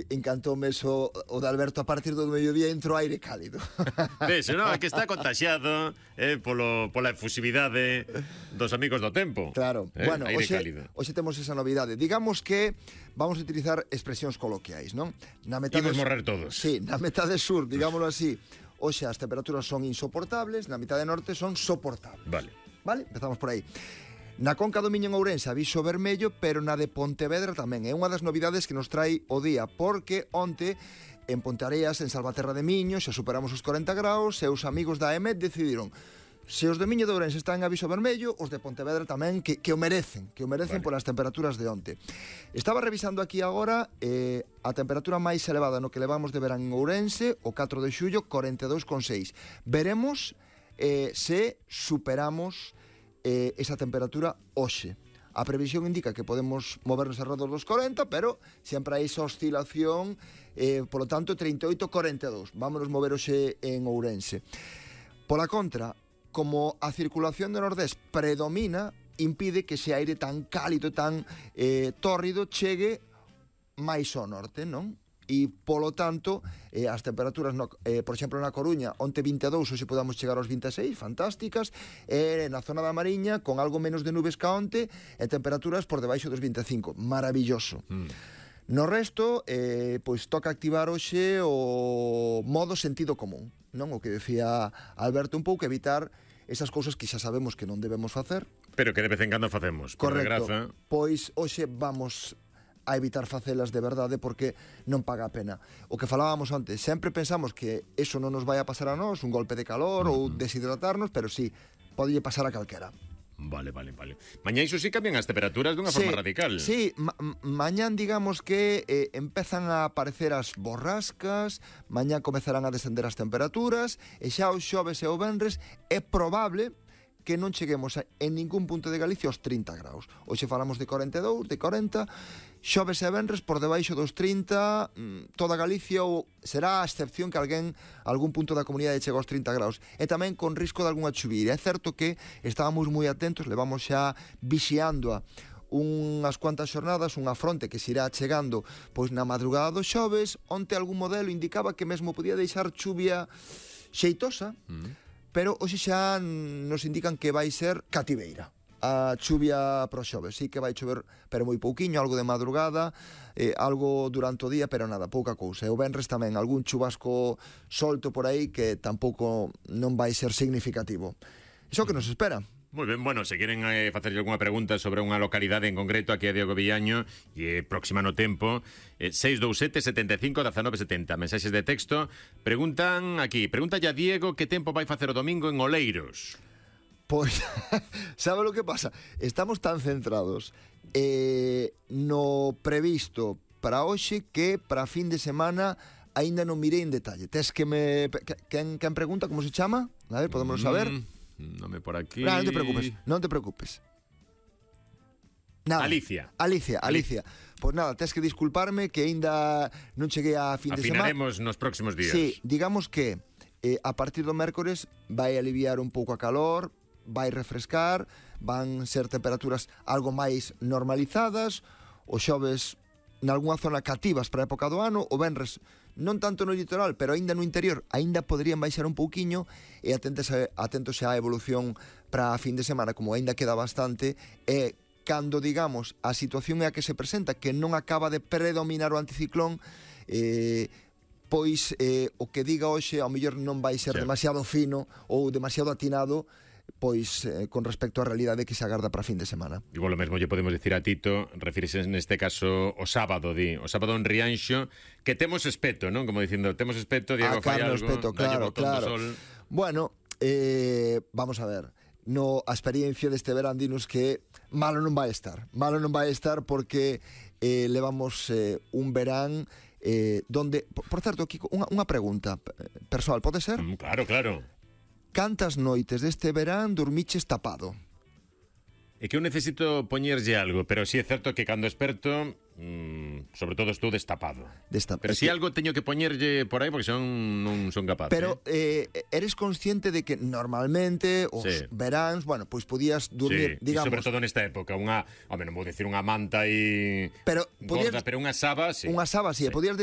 Encantoume eso, o de Alberto, a partir do mediodía entro aire cálido. Ves, non? Que está contaxiado pola efusividade dos amigos do tempo. Claro. Bueno, aire cálido. hoxe temos esa novidade. Digamos que vamos a utilizar expresións coloquiais, non? Imos morrer todos. Sí, na metade sur, digámoslo así, hoxe as temperaturas son insoportables, na metade norte son soportables. Vale, empezamos por aí. Na Conca do Miño en Ourense aviso vermello, pero na de Pontevedra tamén. É unha das novidades que nos trai o día, porque onte en Ponteareas, en Salvaterra de Miño, xa superamos os 40 graus e os amigos da EMET decidiron se os de Miño de Ourense están en aviso vermello, os de Pontevedra tamén, que o merecen polas temperaturas de onte. Estaba revisando aquí agora a temperatura máis elevada no que levamos de verán en Ourense, o 4 de xullo, 42,6. Veremos se superamos esa temperatura hoxe. A previsión indica que podemos movernos alrededor dos 40, pero sempre hai esa oscilación, polo tanto 38-42. Vámonos mover hoxe en Ourense. Pola contra, como a circulación do nordés predomina, impide que ese aire tan cálido, tan tórrido, chegue máis ao norte, non? E, polo tanto, as temperaturas, por exemplo, na Coruña, onte 22, hoxe podamos chegar aos 26, fantásticas, na zona da Mariña, con algo menos de nubes ca onte, e temperaturas por debaixo dos 25, maravilloso. No resto, pois toca activar hoxe o modo sentido común, non? O que decía Alberto, un pouco evitar esas cousas que xa sabemos que non debemos facer, pero que de vez en cando facemos, por desgraza. Pois hoxe vamos a evitar facelas de verdade, porque non paga a pena. O que falábamos antes, sempre pensamos que eso non nos vai a pasar a nós, un golpe de calor ou deshidratarnos, pero sí, pode pasar a calquera. Vale. Mañá iso sí cambian as temperaturas dunha forma radical. Sí, mañán digamos que empezan a aparecer as borrascas, mañá comezarán a descender as temperaturas, e xa o xoves e o venres é probable que non cheguemos en ningún punto de Galicia aos 30 graus. Hoxe falamos de 42, de 40, xoves e venres por debaixo dos 30, toda Galicia, ou será a excepción que algún punto da comunidade chega aos 30 graus. E tamén con risco de algunha chuvira. É certo que estábamos moi atentos, levamos xa vixiando unhas cuantas xornadas, unha fronte que se irá chegando pois na madrugada do xoves, onte algún modelo indicaba que mesmo podía deixar chuvia xeitosa, pero hoxe xa nos indican que vai ser cativeira a chuvia pro xoves. Sí que vai chover, pero moi pouquiño, algo de madrugada, algo durante o día, pero nada, pouca cousa. E o venres tamén, algún chubasco solto por aí que tampouco non vai ser significativo. Iso que nos espera. Moi ben, bueno, se queren facerlle algunha pregunta sobre unha localidade en concreto, aquí a Diego Villaño, e próxima no tempo, 627 75 19 70, mensaxes de texto. Pregunta a Diego que tempo vai facer o domingo en Oleiros. Pois, sabe lo que pasa? Estamos tan centrados no previsto para hoxe que para fin de semana aínda non mirei en detalle. Tes que quen pregunta como se chama? A ver, podemos saber. Nome por aquí. Non te preocupes. Nada. Alicia. Pois nada, tes que disculparme que aínda non cheguei a fin de semana. Afinaremos nos próximos días. Sí, digamos que a partir do mércores vai aliviar un pouco a calor, vai refrescar, van ser temperaturas algo máis normalizadas, o xoves nalgúna zona cativas para a época do ano, o venres non tanto no litoral, pero aínda no interior, aínda poderían baixar un pouquiño, e atentos á evolución para a fin de semana, como aínda queda bastante, e cando, digamos, a situación é a que se presenta, que non acaba de predominar o anticiclón, pois o que diga hoxe ao mellor non vai ser demasiado fino ou demasiado atinado, pois con respecto á realidade que se agarda para a fin de semana. Igual o mesmo lle podemos dicir a Tito, refírese neste caso o sábado en Rianxo, que temos espeto, non? Como dicindo, temos espeto, Diego fai algo, espeto, claro. Sol. Bueno, vamos a ver, a experiencia deste verán dinos que malo non vai estar porque levamos un verán donde, por certo, Kiko, unha pregunta persoal, pode ser? Claro. Cantas noites deste verán dormiches tapado? É que eu necesito poñerlle algo, pero si é certo que cando esperto sobre todo estou destapado. Pero si algo teño que poñerlle por aí porque non son capaz. Pero eres consciente de que normalmente os veráns, bueno, pois podías dormir, digamos... sobre todo nesta época, non vou dicir unha manta e pero gorda, pero unha saba, Unha saba, podías